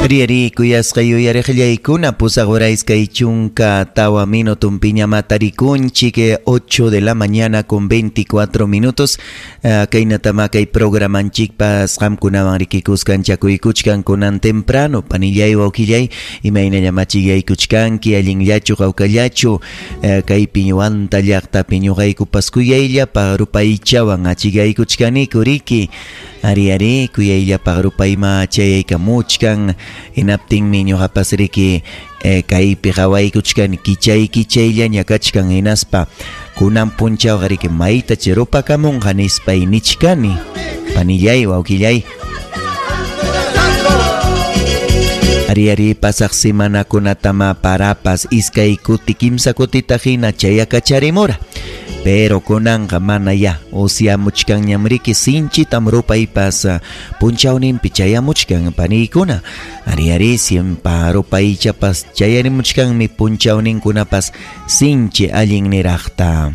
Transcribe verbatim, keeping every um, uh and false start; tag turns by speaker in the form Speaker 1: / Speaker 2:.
Speaker 1: Ari kuyasqa yuyariqllaykuna pusaq hora iskay chunka tawa minutunpiña tarikunchik, ocho de la mañana con veinticuatro minutos. uh, kaynatama kay programanchikpas qamkunawan rikikuskan chakuykuchkan kunan temprano panillay wawqillay imaynallama chiyaykuchkanki allinllachu qawkallachu, uh, kaypi Huanta llaqtapi ñuqaykupas kuyayllapa rupaychawan achiyaykuchkaniku riki. Ari ari kuyayllapa rupayma chayaykamuchkan hinaptinmi ñuqapas riki eh, kaypi qawaykuchkani kichay kichayllaña kachkan hinaspa kunan punchawqa riki mayta chirupakamunqa nispay nichkani panillay wawqillay. Ari ari pasaq semanakunatama parapas iskay kuti kimsa kutita hina chayakacharimura. Pero kunanqa mana ya usyamuchkanñam riki sinchitam rupaypas punchawninpi chayamuchkan paniykuna. Ari ari siempa rupaychapas chayarimuchkanmi punchawninkunapas sinchi allin niraqta.